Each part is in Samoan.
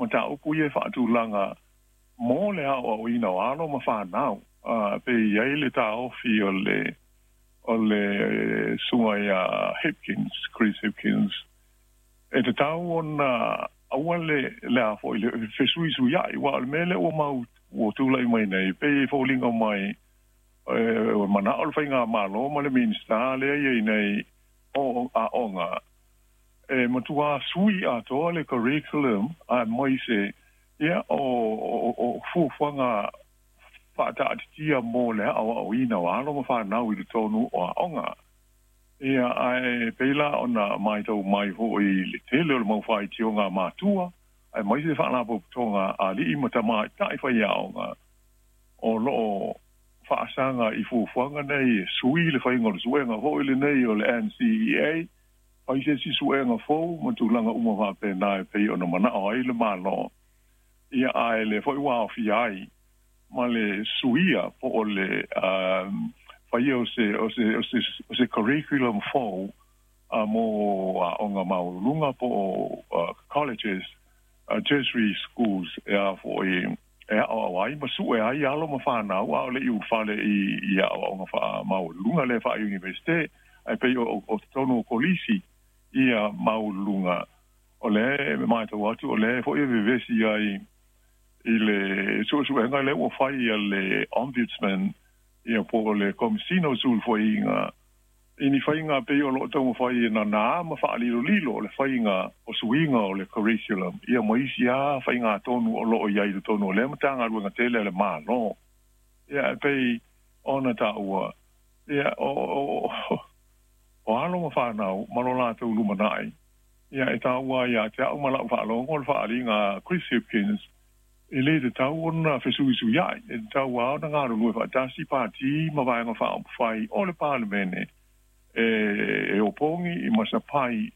Mataupu ia e faatulaga mo le aoaoina o alo ma fanau, pe i ai le taofi o le susuga ia Hipkins, Chris Hipkins, e tatau ona aua le a foi le fesuisuiai, ua o le mea lea ua mau ua tulai mai nei, pei e foliga mai ua manao le faigamalo ma le Minisita lea iai nei o aoga e matua sui atoa le curriculum aemaise ia o fuafuaga faataatitia mo le aoaoina o alo ma fanau i totonu o aoga. Ia, ae pei la ona matau mai foi le tele o le mau faitioga matua aemaise faalapotopotoga alii ma tamaitai faiaoga o loo faasaga i fuafuaga nei e sui le faiga o le suega foi lenei o le NCEA, fai se isi suega fou ma tulaga uma faapena e pei ona manao ai le Malo. Ia, ae le foi ua aofia ai ma le suia po o le faia o se curriculum fou mo aoga maualuluga po o colleges, tertiary schools, e a foi e aoao ai ma sue ai alo ma fanau a o le i ulufale i aoaoga faamaualuluga lea faa-universite. Ae pei o totonu o kolisi ia maualuluga, o lea e matau atu o lea foi e vevesi ai i le suesuega lea ua fai a le Ombudsman, ia, po o le Komesina o Sulufaiga i ni faiga pei o loo taumafai e nanā ma faalilolilo le faiga o suiga o le curriculum, ia, ma isi a faiga tonu o loo i ai i totonu o lea Matagaluega tele a le Malo. Ia, e pei ona taua, ia, o alo ma fanau ma lo latou lumanai, ia, e taua ia te au ma lau faalogo le faaaliga Chris Hipkins, e lē tatau ona fesuisuiai, e tatau a ona galulue faatasi pati ma vaega faaupufai o le Palemene e opogi i masapai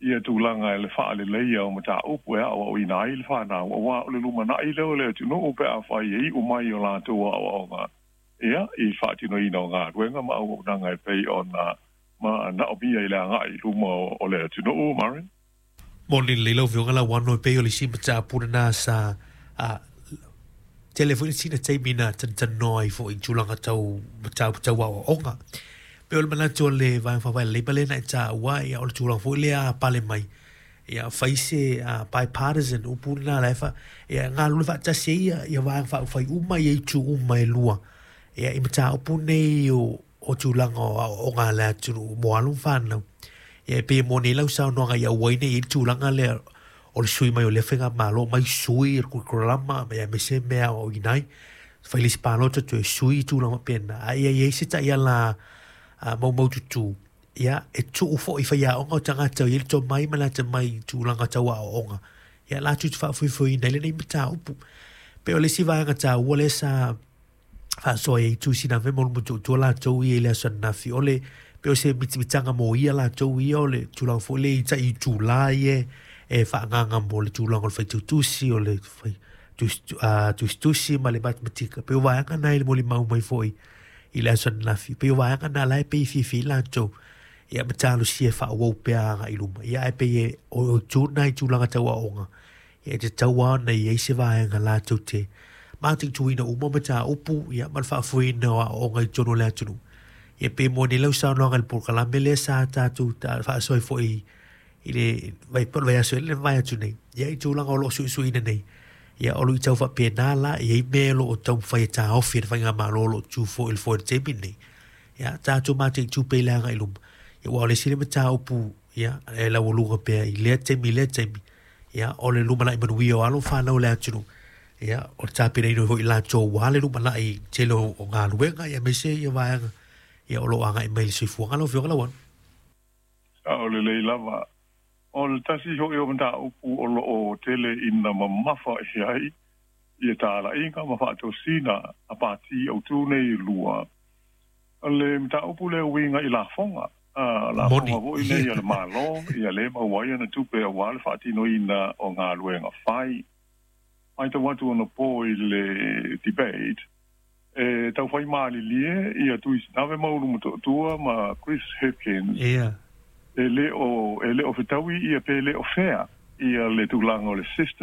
ia tulaga e le faaleleia o mataupu e aoaoina ai le fanau, auā o le lumanai lea o le atunuu pe afai e iu mai o latou aoaoga, ia, i faatinoina o galuega ma auaunaga e pei ona ma naomia i le agai i luma o le atunuu, Maren. Moni lelei lau Afioga Lauano, e pei o le isi mataupu lena sa tele foi le sina taimi na tanoa ai foi i tulaga tau mataupu tau aoaoga. Pei o le manatu o le Vaega Faaupufai a le Leipa lea na e taua, ia, o le tulaga foi lea pale mai, ia, fai se bipartisan, upu lena la e fa ia galulue faatasi ai ia vaega faaupufai uma ia itu uma e lua, ia, i mataupu nei o tulaga o aoaoga a le atunuu mo alo ma fanau. Ia, e pei e moni ai lau saunoaga i auai nei i le tulaga lea o le sui mai o lea faigamalo mai sui le curriculum, ia, aemaise mea aoaoina ai, fai le isi palota toe sui i tulaga faapena. Ae ia i ai se taiala maumaututu, ia, e tuu foi faiaoga o tagata o i ai le tomai ma le atamai i tulaga tau aoaoga, ia, latou te faafoefoeina ai lenei mataupu. Pei o le isi vaega taua lea sa faasoa ai itu Sinave ma Ulutotua latou ia i le aso ananafi, o le pei o se mitamitaga mo ia latou ia o le tulaga foi lea i tai itulā ia e faaagaga mo le tulaga o le faitautusi, o le fai tusitusi ma le matematika. Pei o vaega na i le molimau mai foi i le aso ananafi, pei o vaega na la e pei fiafia ai latou, ia, ma talosia e faaauau pea agai i luma. Ia, ae pei e o itu na i tulaga tau aoga, ia, e tatau lava ona i ai se vaega latou te mataituina uma mataupu, ia, ma le faafoeina o aoaoga i totonu o le atunuu. Ia, pei moni lau saunoaga i le polokalame lea sa tatou faasoa ai foi i le vai po o le vaiaso le vai atu nei, ia, i tulaga o loo suisuina nei, ia, o lo o tau faapena la i ai mea o lo o taumafai e taofi e le faigamalo o lo o tu foi i le foe i le taimi lenei. Ia, tatou mataitu pea i le agai i luma, ia, ua o le isi le mataupu, ia, e laualuga pea i lea taimi i lea taimi, ia, o le lumanai manuia o alo ma fanau o le atunuu, ia, o le tapenaina foi i latou ua le lumanai tele o galuega, ia, aemaise ia vaega, ia, o lo o agai mai i le soifuaga, lau Afioga Lauano. O lelei lava. O le tasi hoʻi o mataupu o loo tele ina mamafa i ai ia talaiga ma faatosina a pati autū nei e lua, o le mataupu lea uiga i lafoga, lafoga foi nei a le Malo, ia lē maua ai ana tupe auā le faatinoina o galuega fai. Matau atu ona po i le debate e tau fai malilie ia Tui Sinave ma Ulumotootua ma Chris Hipkins e lē o fetaui ia pe lē o fea ia le tulaga o le system.